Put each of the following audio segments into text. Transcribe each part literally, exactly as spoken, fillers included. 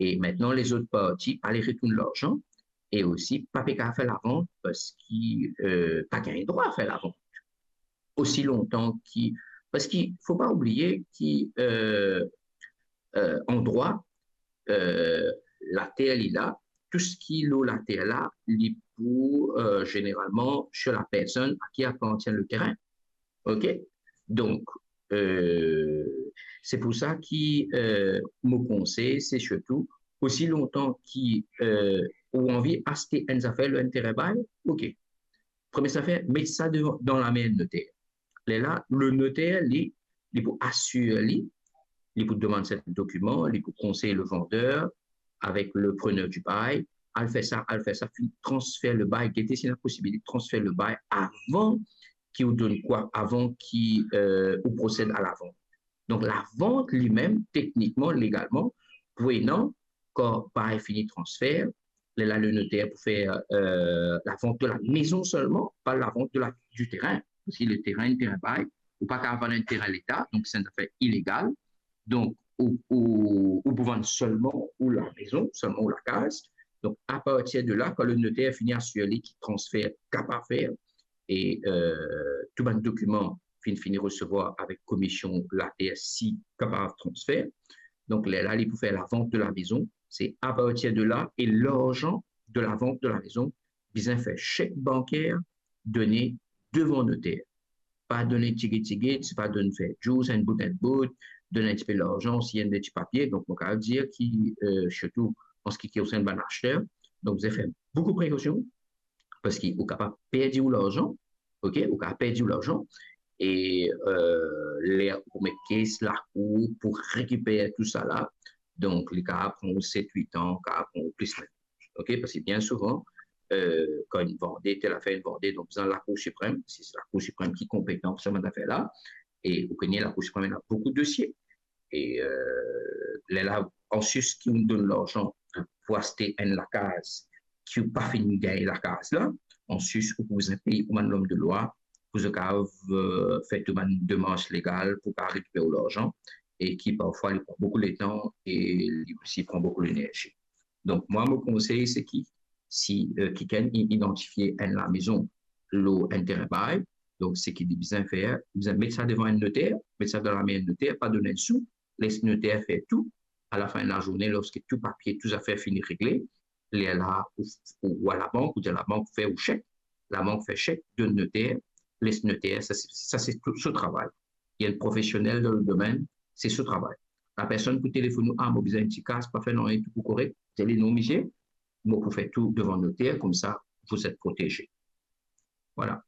E mintnan, lezot parti pa le retourn larzan e osi pa pe kapav fer lavant parski, euh, pa gagn drwa fer lavant. Osi lontan ki, parski fo pa oubliye ki, euh, euh, an drwa, euh, later li la, tou seki lor later la, li pou, euh, zeneralman, sir la personn a ki apartien le terin. Ok? Donk, euh, se pou sa ki, euh, mo konsey, se sirtou, osi lontan ki, euh, ou anvi aste enn zafer lor enn terin bay, ok. Premie zafer, met sa devan, dan lame enn noter. Lerla, le noter, li, li pou asir li, li pou demann sertin dokiman, li pou konsey le vander avek le preneur du bail, al fer sa, al fer sa, finn transfer le bay, gete si ena posibilite transfer le bay avan ki ou donn kwa, avan ki, euh, ou prosed a lavant. Donk, lavant limem, teknikman, legalman, pou ena, kan bay fini transfer, lerla le noter pou fer, euh, lavant de la mezon selman, pa lavant de la, du terin. Parski le terin, terin bay, ou pa kapav vann enn terin leta, donk se enn zafer ilegal. Donk, ou, ou, ou pou vann selman ou lamezon, selman ou lakaz. Donk, apartir de la, kan le noter fini asir li ki transfer kapav fer, e, euh, tou bann dokiman finn fini resevwar avek komisyon later si kapav transfer. Donk, lerla, li pou fer lavant de la mezon. Se apartir de la, e larzan de lavant de la mezon, bizin fer sek banker, done devan noter. Pa donn tigit tigit, se pa donn fer dous, enn bout enn bout, donn enn tipe larzan, si enn ti papie. Donk, mo kapav dir ki, euh, sirtou an seki konsern bann aster, donk, bizin fer boukou prekosion, parski ou kapav perdi ou larzan, ok, ou kapav perdi ou larzan, e, euh, ler ou met kes lakour pou rekiper tou sa la, donk, li kapav pran ou set, wit an, kapav pran ou plis mem. Ok, parski bien souvan, euh, kan enn vande, tel afer enn vande, donk, bizin Lakour Siprem, si se Lakour Siprem ki konpetan pou sa bann zafer la, e ou kone Lakour Siprem ena boukou dosie. E, euh, lerla, ansus ki ou donn larzan pou aste enn lakaz, ki ou pa finn gagn lakaz la, ansus ou pou bizin pey ou bann lom de lwa, pou zot kapav, euh, fer tou bann demars legal pou kapav rekiper ou larzan, e ki parfwa li pran boukou letan e li osi pran boukou lenerzi. Donk, mwa, mo konsey, se ki si, euh, kikenn inn idantifie enn lamezon lor enn terin bay, donk, seki li bizin fer, bizin met sa devan enn noter, met sa dan lame enn noter, pa donn enn sou, les noter fer tou. Alafin lazourne, lorski tou papie, tou zafer fini regle, lerla, ou, ou, ou al labank, ou dir labank fer ou sek, labank fer sek, donn noter, les noter, sa se, sa se tou so travay. Li enn profesionel dan le domenn, se so travay. Lapersonn pou telefonn ou, ah, mo bizin enn ti kas, pa fer nanye, tou pou korek, dir li, non misie, mo pou fer tou devan noter, koumsa, vous êtes protégé. Vwala.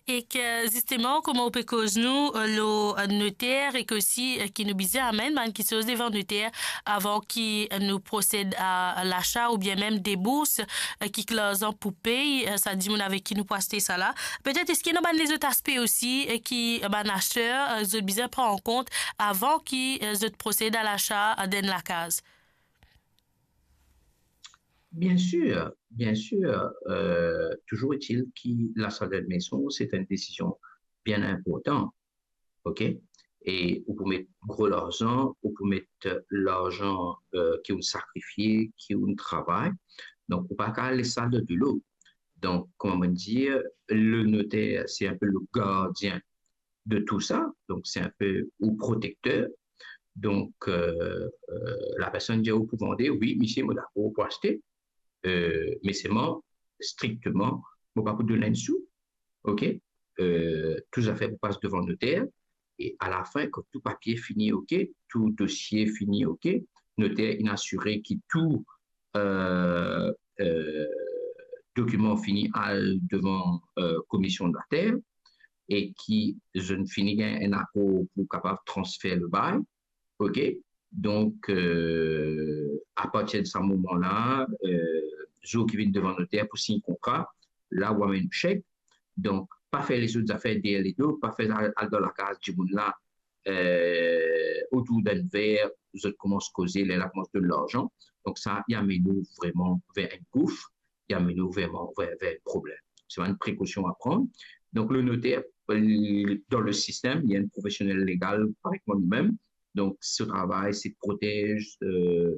Ek zisteman, kouma ou pe koz nou, euh, lor, euh, noter, ek osi, euh, ki nou bizin amenn bann kiksoz devan noter avan ki, euh, nou prosed a lasa oubien mem debours, euh, kiksoz larzan pou pey, euh, sa dimoun avek ki nou pou aste sa la. Petet eski ena bann lezot aspe osi, euh, ki, euh, bann aster, euh, zot bizin pran an kont avan ki, euh, zot prosed a lasa, euh, d'enn lakaz? Bien sûr, bien sûr. Euh, toujours est-il ki lasa d'enn mezon, se enn desizion bien inportan, ok? E ou pou met gro larzan, ou pou met larzan, euh, ki ou sakrifie, ki ou travay. Donk, ou pa kapav les sa dan dilo. Donk, kouma mo dir, le noter, se enn pe le gardien de tou sa, donk se enn pe ou protekter. Donk, euh, euh, lapersonn dir ou pou vande, wi, misie, mo dakor pou aste, euh, me selman, strikteman, mo pa pou donn enn sou, ok? Euh, tou zafer pou pas devan noter, e alafin, kan tou papie fini ok, tou dosie fini ok, noter inn asire ki tou, euh, euh, dokiman fini al devan, euh, komisyon later, e ki zot fini gagn enn akor pou kapav transfer le bay, ok? Donk, euh, apartir de sa moman la, euh, zour ki vinn devan noter pou sign kontra, la ou amenn ou sek. Donk, pa fer lezot zafer deryer ledo, pa fer al, al dan lakaz dimoun la, euh, otour d'enn ver, zot koumans koze, lerla koumans donn larzan. Donk sa, li amenn ou vreman ver enn gouf, li amenn ou vreman ver, ver enn problem. Se enn prekosion a pran. Donk, le noter, euh, dan le sistem, li enn profesionel legal parey kouma nou mem. Donk, so travay, se protez, euh,